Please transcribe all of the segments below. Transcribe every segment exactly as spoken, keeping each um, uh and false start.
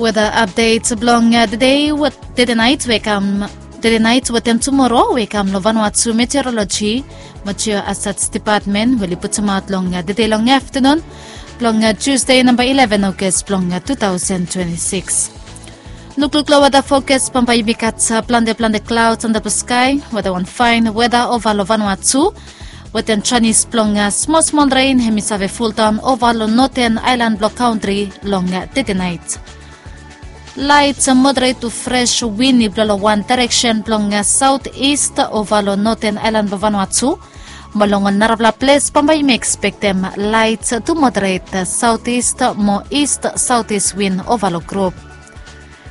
Weda apdet blong tede, tede nait we kam, tede nait wetem tumoro we kam long Vanuatu Meteorologi mo Geo Assets Depatmen we oli putumaot long tede long aftenun blong Tusde namba eleven August blong two thousand twenty-six. Lukluk long weda fokas, bambae yumi gat plante plante klaods antap long skae. Weda wan faen weda ova long Vanuatu wetem janis blong smol smol ren hemi save foldaon ova long noten aelan blong kantri long tede nait. Laet moderet tu fres win i blo long wan daereksen blong saot ist ova long noten aelan blong Vanuatu. Mo long ol narafala ples bambae yumi ekspektem laet tu moderet saot ist mo ist saot ist win ova long grup.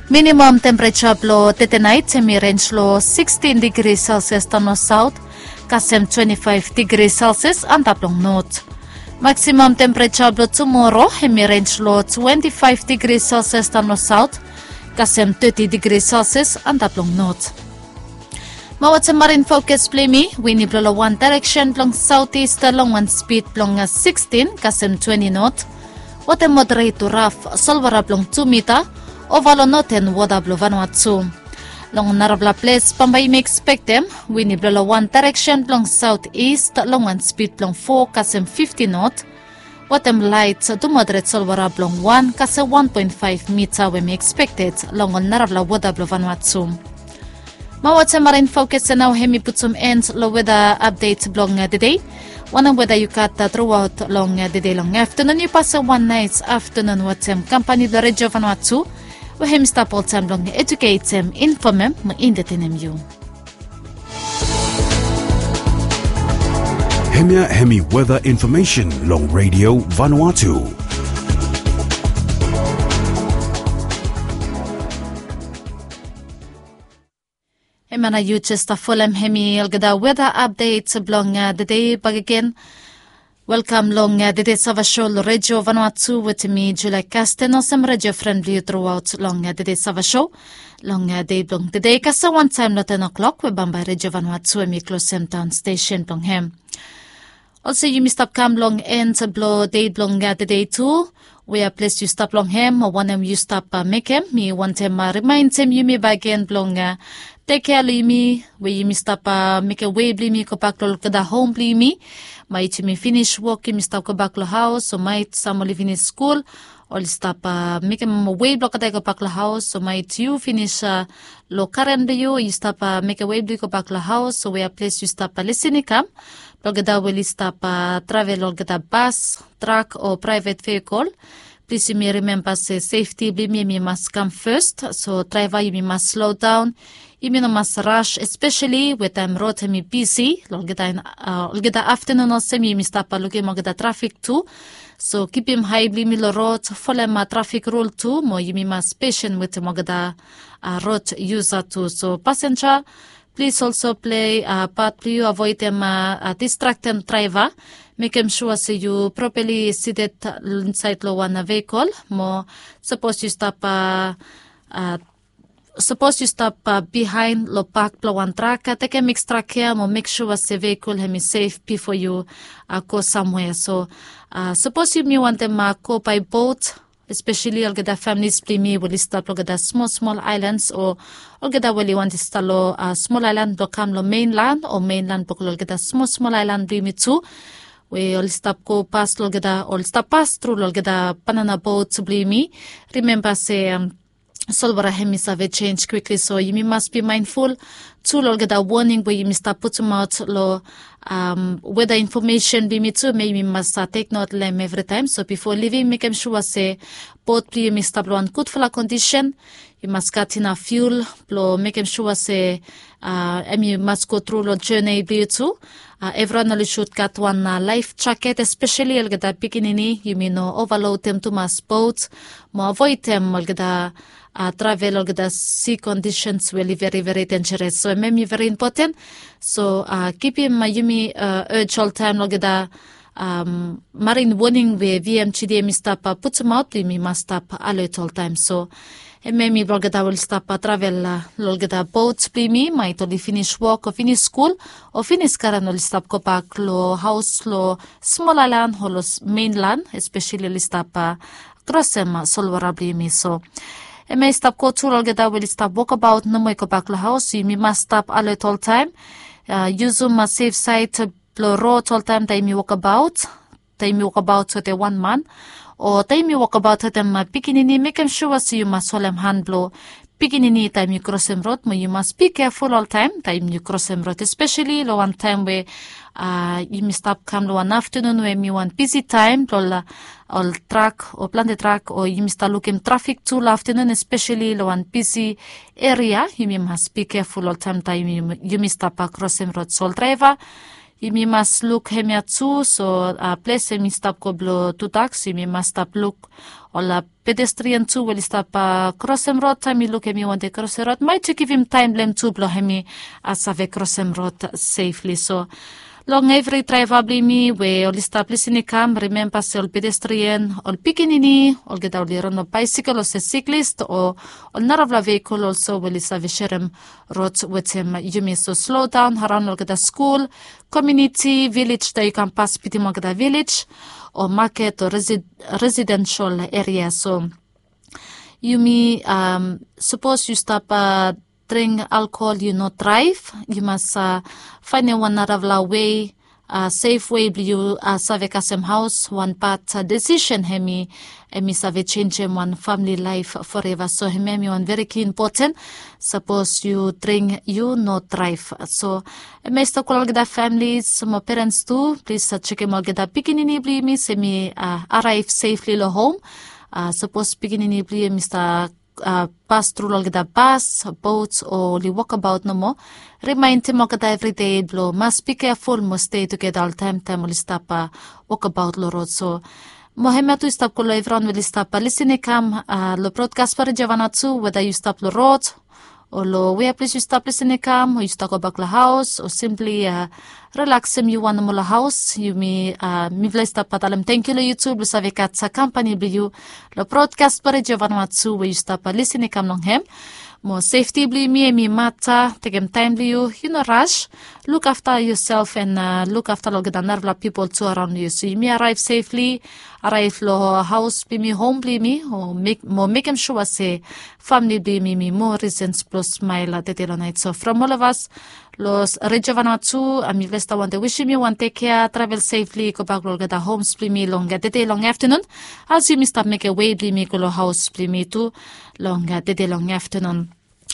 Minimam tempereja blong tede nait hemi renj long sikstin digri Celsius daon long saot kasem twenti faef digri Celsius antap long not. Maksimam tempereja blong tumoro hemi renj long twenti faef digri Celsius daon long saot kasem teti digri Celsius antap long not. Mo wetem marin fokas blong yumi, win i blo long wan daereksen blong saot ist long wan spid blong sikstin kasem twenti not. Wetem moderet tu raf, solwara blong tu mita ova long noten wota blong Vanuatu. Long narafala ples bambae yumi ekspektem win i blo long wan daereksen blong saot ist long wan spid blong fo kasem fifti not. Wetem laet tu moderet solwara blong wan kasem wan poen faef mita we hemi ekspekted long ol narafala wota blong Vanuatu. Mo wetem marin fokas ya nao hemi putum en long weda apdet blong tede. Wanem weda yu gat truaot long tede long aftenun, yu pasem wan naes aftenun wetem kampani blong Redio Vanuatu we hemi stap oltaem blong ejuketem, infomem mo entetenem yu. Hemia hemi weda infomesen long Redio Vanuatu. Hemia nao yu jes stap folem hemi olgeta weda apdet blong tede bakegen. Welkam long tede Savasho long Redio Vanuatu wetem mi Julia Kasten olsem redio fren blong yu truaot long tede Savasho. Long dei blong tede kasem wantaem long ten o'clock we bambae Redio Vanuatu hemi klosem daon stesen blong hem. Olsem yumi stap kam long en blong dei blong tede tu. Wea ples yu stap long hem o wanem yu stap mekem, mi wantem rimaenem yumi bakegen blong tekkea long yumi we yumi stap mekem wei blong yumi gobak long olgeta hom blong yumi. Maet yumi finis wok yumi stap gobak long haos, o maet sam oli finis skul oli stap mekem wei blong olgeta i gobak long haos, o maet yu finis long karen blong yu, yu stap mekem wei blong yu gobak long haos, o wea ples yu stap lisin i kam. Blong olgeta we oli stap travel long olgeta bas, trak o praevet veikol. Plis yumi rimemba se sefti blong yumi hemi mas kam fes. So draeva yumi mas slodaon. Yumi no mas ras, espeseli we taem rod hemi bisi long olgeta aftenun olsem yumi stap lukim olgeta trafik tu. So kipim ae blong yumi long rod, folem trafik rul tu mo yumi mas pesen wetem olgeta rod yusa tu. So pasenja, plis olso plei pat blong yu, avoedem distraktem draeva. Mekem sua se yu propali sited insaed long wan veikol mo sapos yu stap sapos yu stap biaen long bak blong wan trak, tekem ekstrakea mo mek sua se veikol hemi sef bifo yu go samwea. So sapos yumi wantem go bae bot, espeseli olgeta familis blong yumi we oli stap long olgeta smol smol aelans o olgeta we oli wantem stap long smol aelan blong kam long menlan o menlan blong go long olgeta smol smol aelan blong yumi tu, we oli stap gopas long olgeta, oli stap pas tru long olgeta banana bot blong yumi. Rimemba se solwara hemi save jenj kwikli, so yumi mas bi maenful tu long olgeta woning we yumi stap putumaot long weda infomesen blong yumi tu, me yumi mas tek not long hem evritaem. So bifo livim, mekem sua se bot blong yumi stap long wan gudfala kondisen. Yu mas gat inaf fiul blong mekem sua se hemi mas go tru long jene blong yu tu. Evriwan oli sud gat wan laef jaket, espeseli olgeta pikinini. Yumi no ovalotem tumas bot mo avoedem olgeta travel long olgeta si kondisens we oli veri veri denjeres. So hemia hemi veri impoten. So kipim yumi ej oltaem long olgeta marin woning we V M G D hemi stap putumaot, yumi mas stap alet oltaem. So hemia hemi blong olgeta we oli stap travel long olgeta bot blong yumi, maet oli finis wok o finis skul o finis karen, oli stap gobak long haos long smol aelan o long menlan, espeseli oli stap krosem solwara blong yumi. So Hemia i stap go tu long olgeta we oli stap wokabaot nomo i gobak long haos. Yumi mas stap alet oltaem. Yusum sef saed blong rod oltaem taem yumi wokabaot, taem yumi wokabaot wetem wan man, o taem yumi wokabaot wetem pikinini, mekem sua se yu mas holem han blong pikinini taem yu krosem rod. Mo yu mas bi keful oltaem taem yu krosem rod, espeseli long wan taem we yumi stap kam long wan aftanun we hemi wan bisi taem blong ol trak o plante trak, o yumi stap lukim trafik tu long aftanun, espeseli long wan bisi eria. Yumi mas bi keful oltaem taem yumi stap krosem rod. So ol draeva, yumi mas luk hemia tu. So ples hemi stap go blong tudak, so yumi mas stap luk ol pedestrian tu we oli stap krosem rod. Taem yu luk hemi wante krosem rod, maet yu givim taem blong hem tu blong hemi save krosem rod sefli. So long evri draeva blong yumi we oli stap lisin i kam, rimemba se ol pedestrian, ol pikinini, olgeta oli raon long baesekel olsem siklis o ol narafala vehikel olsem we oli save serem rod wetem yumi. So slodaon araon olgeta skul, komuniti, vilej taem yu kam pas bitim olgeta vilej o maket o residensel eria. So yumi, sapos yu stap dring alkohol, yu no draev. Yu mas faenem wan narafala wei, sef wei blong yu save kasem haos. Wan bad desisen hemi, hemi save jenjem wan famili laef foreva. So hemia hemi wan veri ki impoten. Sapos yu dring, yu no draev. So hemia i stap go long olgeta familis mo perens tu, plis jekem olgeta pikinini blong yumi se hemi araev sefli long hom. Sapos pikinini blong yu hemi stap pas tru long olgeta bas, bot o oli wokabaot nomo, rimaenem olgeta evridei blong mas bi keful mo stei tugeta oltaem taem oli stap wokabaot long rod. So mo hemia tu i stap go long evriwan we oli stap lisin i kam long brodkas blong Redio Vanuatu, weda yu stap long rod o long wea ples yu stap lisin i kam, o yu stap gobak long haos, o simpli rilaksim yu wan nomo long haos. Yumi, mifala i stap talem tangkiu long yu tu blong save gat kampani blong yu long brodkas blong Redio Vanuatu we yu stap lisin i kam long hem. Mo sefti blong yumi hemi mata. Tekem taem blong yu, yu no ras. Lukafta yusef an lukafta long olgeta narafala pipol tu araon long yu. So yumi araev sefli, araev long haos blong yumi, hom blong yumi, mo mekem sua se famili blong yumi hemi moa risens blong smael tede long naet. So from olgeta of as long Redio Vanuatu, mifala i stap wantem wisim yu wan tekea, travel sefli gobak long olgeta homs blong yumi long tede long aftanun, as yumi stap mekem wei blong yumi go long haos blong yumi tu long tede long aftanun.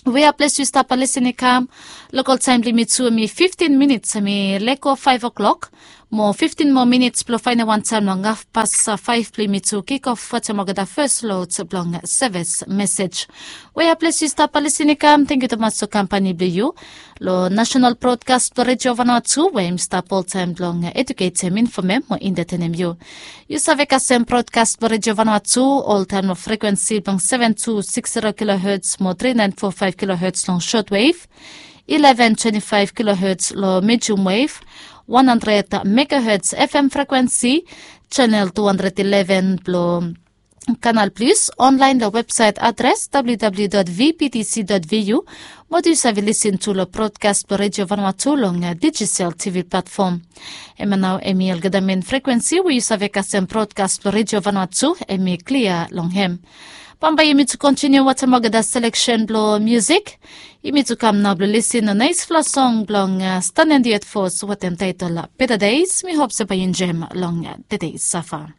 Wea ples yu stap lisin i kam, lokal taem blong yumi tu hemi fiftin minits, hemi lego faef oklok. Mo fiftin moa minits blong faenem wan taem long hafpas faef blong yumi tu kikof wetem olgeta fes lod blong seves mesej. Wea ples yu stap lisin i kam, tangkiu tumas long kampani blong yu long Nasenal Brodkas blong Redio Vanuatu, we hemi stap oltaem blong eduketem, infomem mo entetenem yu. Yu save kasem brodkas blong Redio Vanuatu oltaem long frekuensi blong seven two six zero kilohertz mo three nine four five kilohertz long shortwave, eleven twenty-five kilohertz long medium wave, one hundred megahertz F M frekuensi, channel two hundred eleven blong Canal Plus, online long websaet adres W W W dot V B T C dot V U, mo yu save lisin tu long brodkas blong Redio Vanuatu long Digicel T V platform. Hemia nao hemi olgeta men frekuensi we yu save kasem brodkas blong Redio Vanuatu, hemi klia long hem. Bambae yumi tu kontiniu wetem olgeta seleksen blong musik. Yumi tu kam nao blong lisin long naesfala song blong Stan and the Earth Force wetem taetol Better Days. Mi hop se bae yu enjoem long tede safa.